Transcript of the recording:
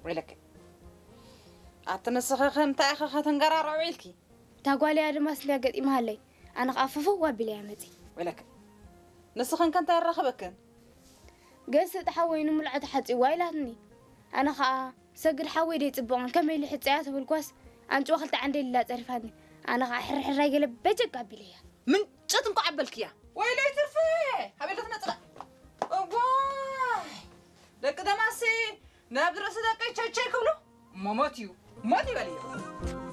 ወይለክ ኣቲ ንስኺ ከ እንታይ ኢኺ ከተንገራርዑ ኢልኪ? እታ ጓል እያ ድማ ስልያ ገጢማሃለይ። ኣነ ኸዓ ፍፍው ኣቢለያ መፂ። ወይለክ ንስኽን ከ እንታይ ኣራኸበክን? ገስ ተሓወይ ንምልዖ ተሓፂዋ ኢላትኒ። ኣነ ኸዓ ሰግድ ሓወይ ደይ ፅቡቕን ከመይ ኢሉ ሕፀያ ተበልኳስ ኣንጭዋ ክልተ ዓንደ ኢላ ፀሪፋትኒ። ኣነ ኸዓ ሕርሕራይ ገለ በጀግ ኣቢለያ። ምንጨት እንኳ ዓበልክያ። ወይለይ ትርፌ! ኣቤት ትመጽእ። እዋይ! ደቂ ደማሲ ናብ ርእሲ ደቂ ቸቸይ ክብሉ እሞ ሞት እዩ። ሞት ይበል እዩ።